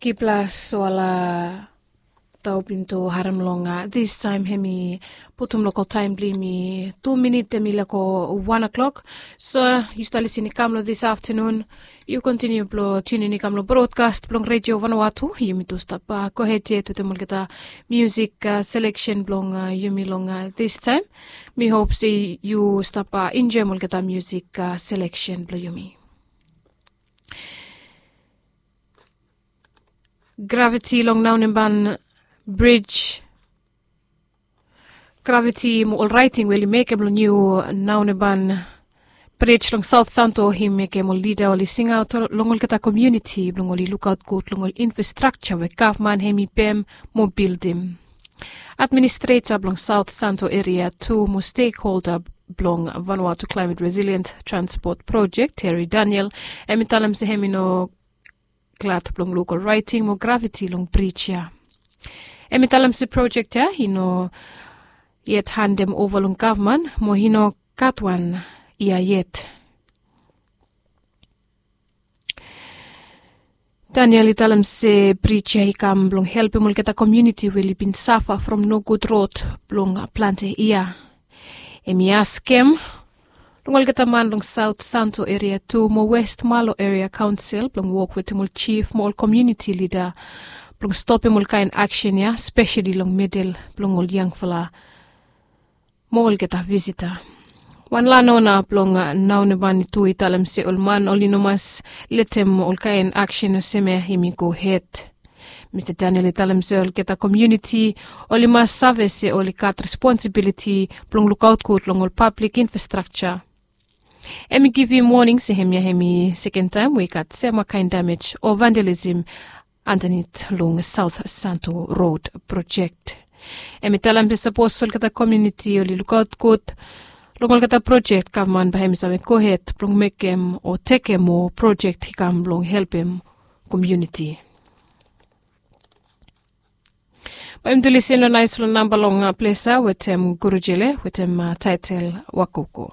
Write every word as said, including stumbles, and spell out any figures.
Kiplas wala taupin tu harim long distaim hemi putum lokal taim blong yumi tu minit hemi leko wan o'klok. So yu stap lisin i kam long dis aftanun. Yu kontiniu blong tunin i kam long brodkas blong redio vanawatu. Yumi tu stap gohed yet wetem olgeta musik seleksen blong yumi long distaim. Mi hop se yu stap enjoim olgeta musik seleksen blong yumi. Graviti long naoneban brij. Graviti mo ol raiting we oli mekem long niu naoneban brij long saot santo i mekem ol lida oli singaot long olgeta komiuniti blong oli lukaot gud long ol infrastrakta we gavman hemi pem mo bildim. Administreta blong saot santo eria tu mo stekholda blong vanuatu klaimet resilient transpot projek, Terry Daniel, hemi talem se hemi no glad blong luk ol raiting mo graviti long brij ya. Hemi talem se projek ya i no yet handem ova long gavman mo i no gat wan yia yet. Daniel i talem se brij ya i kam blong helpem olgeta komiuniti we oli bin safa from nogud rod blong plante yia. Hemi askem long olgeta man long saot santo eria tu mo west malo eria kaonsel blong wok wetem ol jif mo ol komiuniti lida blong stopem ol kaen aksen ya spesali long medel blong ol yangfala mo olgeta visita. Wan lanona blong naoneban i tu i talem se ol man oli no mas letem ol kaen aksen olsem ya hemi gohed. Mista Daniel i talem se olgeta komiuniti oli mas save se oli gat responsibiliti blong lukaot gud long ol pablik infrastrakta. Hemi givim woning se hemia hemi sekendaem we i gat sema kaen damej o vandalisim andanit long saot santo rod projek. Hemi talem se sapos olgeta komiuniti oli lukaot gud long olgeta projek gavman bae hemi save gohed blong mekem o tekem moa projek i kam blong helpem komiuniti. Bae yumi tu lisin long naes long namba long plesa wetem gurujele wetem taetel wakoko.